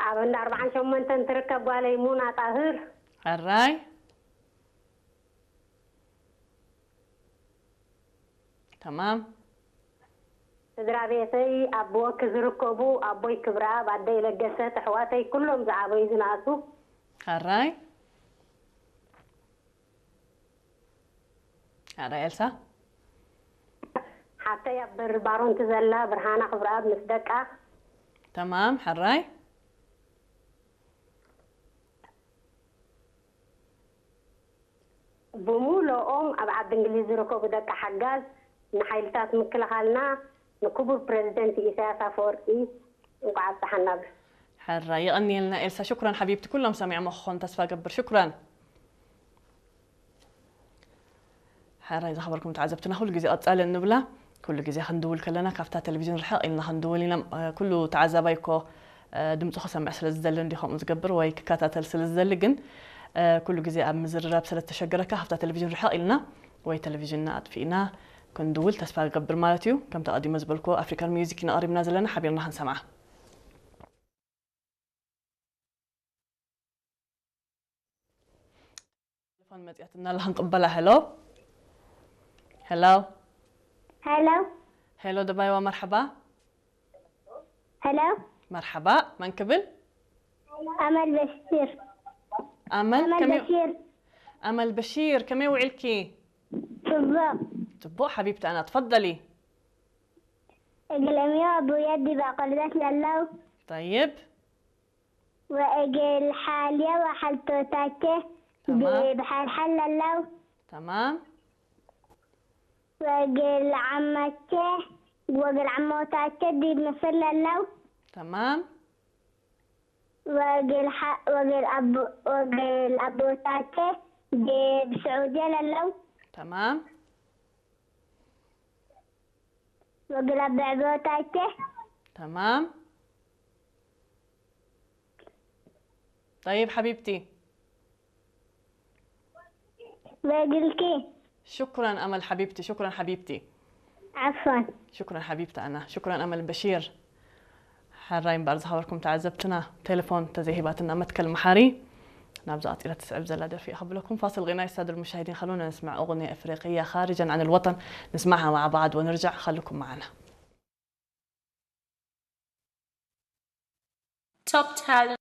ኣብ እንዳ ኣርባዓን ሸሞንተን ትርከብ ጓለይ ሙና ጣህር። ሕራይ። ተማም። ስድራ ቤተይ ኣብ ወኪ ዝርከቡ ኣቦይ ክብረኣብ፣ ኣደይ ለገሰት፣ ኣሕዋተይ ኩሎም ዝዓበዩ ዝነኣሱ። ሕራይ። ሕራይ ኤልሳ። ሓተይ ኣብ በሪ ባሮንቲ ዘላ ብርሃና ክብረኣብ ምስ ደቃ። ተማም። ሕራይ። ብምሉኦም ኣብ ዓዲ እንግሊዝ ዝርከቡ ደቂ ሓጋዝ ንሓይልታት ምክልኻልና ንክቡር ፕረዚደንት ኢሳያስ ኣፈወርቂ እንኳዕ ኣብፀሓና ብል። ሕራይ። የቐንየልና ኤልሳ። ሽኩራን ሓቢብቲ። ኩሎም ሰሚዖሞ ክኾኑ ተስፋ ገብር። ሽኩራን። ሕራይ ዝኸበርኩም ተዓዘብትና፣ ኩሉ ግዜ ቀጻሊ እንብላ፣ ኩሉ ግዜ ክንድውል ከለና ካብታ ቴሌቪዥን ርሕቕ ኢልና ክንድውል ኢና። እ፣ ኩሉ ተዓዛባይ እኮ፣ እ፣ ድምፁ ክሰምዕ ስለ ዝደሊ እንዲ ከምኡ ዝገብር ወይ ክከታተል ስለ ዝደሊ፣ ግን፣ እ፣ ኩሉ ግዜ ኣብ ምዝርራብ ስለ ዝተሸገረካ ካብታ ቴሌቪዥን ርሕቕ ኢልና ወይ ቴሌቪዥንና ኣጥፊእና ክንድውል ተስፋ ክገብር ማለት እዩ። ከምቲ ኣቐዲመ ዝበልኩ ኣፍሪካን ሚውዚክ ኢና ቀሪብና ዘለና፣ ሓቢርና ክንሰምዓ። ቴሌፎን መጽያትና ኣላ ክንቅበላ። ሄሎ። ሄሎ። ሄሎ። ሄሎ ደባይዋ፣ መርሐባ። ሄሎ። መርሐባ፣ መን ክብል? ኣመል በሽር። ኣመል ኣመል ከመይ? በሽር። ኣመል በሺር፣ ከመይ ውዒልኪ? ጽቡቕ። ጽቡቕ ሓቢብቲ ኣና፣ ትፈደሊ። እግል እምዮ ኣቡየ ዲብ ኣቆልበት ለለው። ጠይብ። ወእግል ሓልየ ወሓልቶታቼ ተማም። ዲብ ሓልሓል ለለው። ተማም። ወእግል ዓማቼ ወእግል ዓሞታቼ ዲብ ምስር ለለው። ተማም። ወእግል ሓ-፣ ወእግል ኣቦ-፣ ወእግል ኣቦታቼ ዲብ ስዑድየ ለለው። ተማም። ወእግል ኣቦ ኣዕቦታቼ። ተማም። ጠይብ ሓቢብቲ። ወእግልኪ። ሽኩራን ኣመል ሓቢብቲ፣ ሽኩራን ሓቢብቲ። ዓፋን። ሽኩራን ሓቢብቲ ኣና፣ ሽኩራን ኣመል በሺር። ሕራይ እምበኣር ዝኸበርኩም ተዓዘብትና፣ ቴሌፎን ተዘይሂባትና መትከል መሓሪ ናብዛ ቀጺላ ትስዕብ ዘላ ደርፊ እያ ከብለኩም። فاصل غنائي السادة المشاهدين، خلونا نسمع أغنية إفريقية خارجا عن الوطن، نسمعها مع بعض ونرجع، خليكم معنا. Top talent.